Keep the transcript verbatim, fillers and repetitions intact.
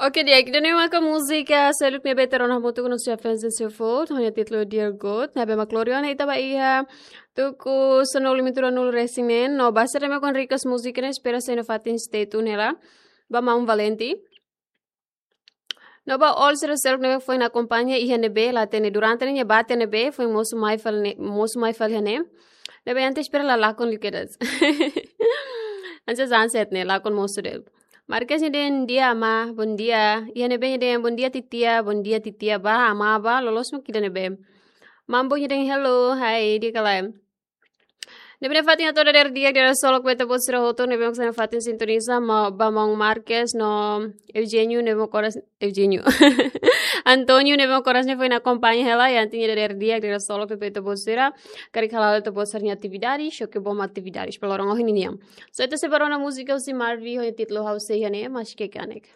Oke, di'ak, ida-ne'e maka múzika seluk ne'ebé ita rona hamutuk ho nossos fans de Seafood, ho nia títulu Dear God, ne'ebé mak lori ona ita ba iha tuku sanulu-resin-nulu resin-neen, no ba sira ne'ebé mak request múzika ne'e, espera sai iha fatin stay tune hela, ba maun Valenti. No ba all sira seluk ne'ebé foin akompaña iha ne'ebé, la hatene durante ne'e bate ne'ebé, foin mosu mai fali ne'e, mosu mai fali iha ne'e. Ne'ebé antes espera la lakon liu kedas. Antes sunset ne'e, lakon mosu de'it. Marques nia dehan, "Bom dia, amá, bom dia." Iha ne'ebé nia dehan, "Bom dia, titia, bom dia, titia." Ba, amá, ba, loloos mak ida ne'ebé. Mambo nia dehan, "Hello, hi, di'ak ka lae?" Ne'ebé iha fatin atu dadeer di'ak, dadeer solok ba ita-boot sira hotu, ne'ebé mak sai iha fatin sintoniza, ma, ba maun Marques, no Eugenio, ne'ebé mak oras, Eugenio. Antonio, ne'ebé mak oras ne'e foin akompaña hela, i antes nia dadeer di'ak, dadeer solok ba ita-boot sira, karik hala'o ita-boot sira-nia atividade, xoke bom atividade, ba loron ohin nian. So, ita sei ba rona múzika husi Marvi, ho nia títulu Ha'u Sei Iha Ne'e, mas ke kanek.